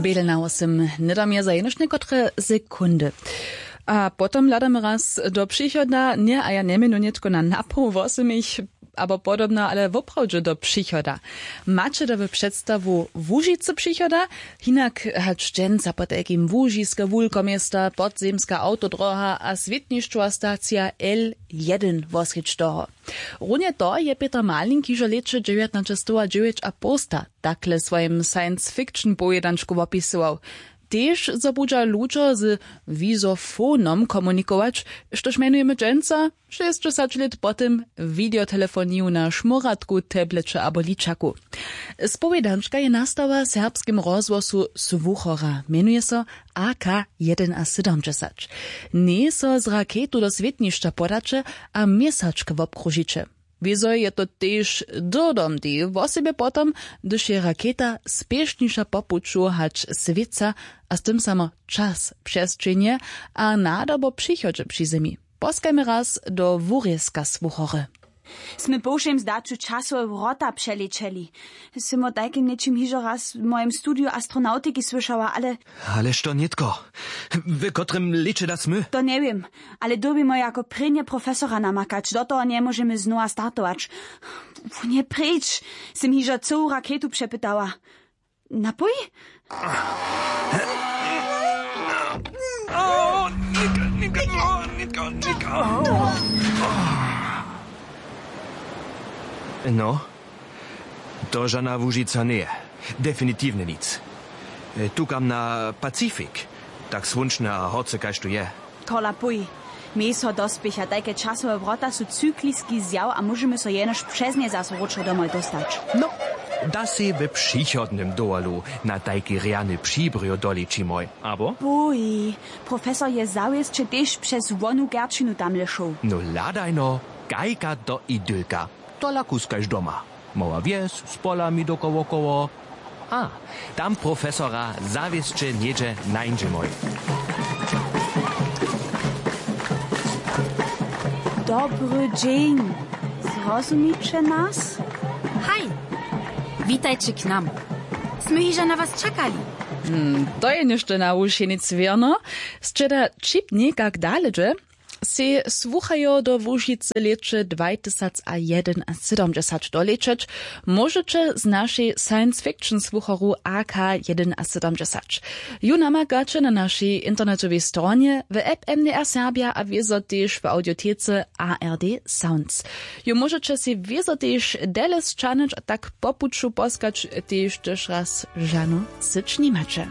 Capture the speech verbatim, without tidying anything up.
Bědelnał sym, hnydom je za jenož někotre sekundy. A potom hladamy raz do přichoda, ně, a ja njemjenu nětko na napoł wosymich abo podobno, ale woprawdźe do přichoda. Maće da w předstawu łužicy přichoda? Hinak hač dźensa potajkim łužiske wulkoměsta, podzemska awtodroha a swětnišćowa stacija l jedyn wosrjedź toho. Runje to je peter malink hižo lěće dźewjatnaćestowadźewjećapołsta takle w swojim science fiction powědančku wopisował. Tež zo budźa ludźo z wizofonom komunikować, štož mjenujemy dźensa šěsćdźesać lět po tym wideotelefoniju na šmóratku, tableće abo ličaku. Spowědančka je nastała w serbskim rozhłosu słuchora, mjenuje so a k jedynasydomdźesać. Njej so z raketu do swětnišća podaće a měsačk wobkružiće. Wězo je to tež dyrdomdi wosebje potom, hdyž je raketa spěšniša po puću hač swětca, a z tym samo čas přesćenje a nadobo přichodźe při zemi. Poskajmy raz do wurězka słuchory. Smy po wšěm zdaću časowe wrota přelěćeli. Sym o tajkim něčim hižo raz w mojim studiju astronautiki słyšała, ale... Ale što nětko? W kotrym lěće da smy? To njewěm, ale dyrbimy jako prěnje profesora namakać, do toho njemóžemy znowa startować. Wón je pryč. Sym hižo cyłu raketu přepytała. Napój? No, to žana łužica njeje. Definitiwnje nic. Tukam na pacifik, tak słónčne a horce kaž tu je. Tola pój. Měj so dospěcha, tajke časowe wrota su cykliski zjaw a móžemy so jenož přez nje zaso wróćo domoj dóstać. No, da sej w přichodnym dowolu na tajki rjany přibrjo doličimoj, abo? Pój. Profesor je zawěsće tež přez wonu kerčinu tamle šoł. No hladajno, kajka do idylka. Tola kuskaž doma. Mała wjes z polami dokołokoło. A, tam profesora zawěsće něhdźe nańdźemoj. Dobry dźeń. Zrozumiće nas? Haj. Witajće k nam. Smy hižo na was čakali. Hmm, to je něšto na wušenic wěrno. Sće da čip někak dale dźe, sej słuchajo do łužicy lěće dwajtysacajedynasydomdźesać dolećeć, móžeće z našej science fiction słuchoru a k jedynasydomdźesać. Ju namakaće na našej internetowej stronje, w app m d r serbja a wězo tež w audiotece a r d sounds. Ju móžeće sej wězo tež dele sćahnyć a tak po puću poskać tež tež raz žanu syć nimaće.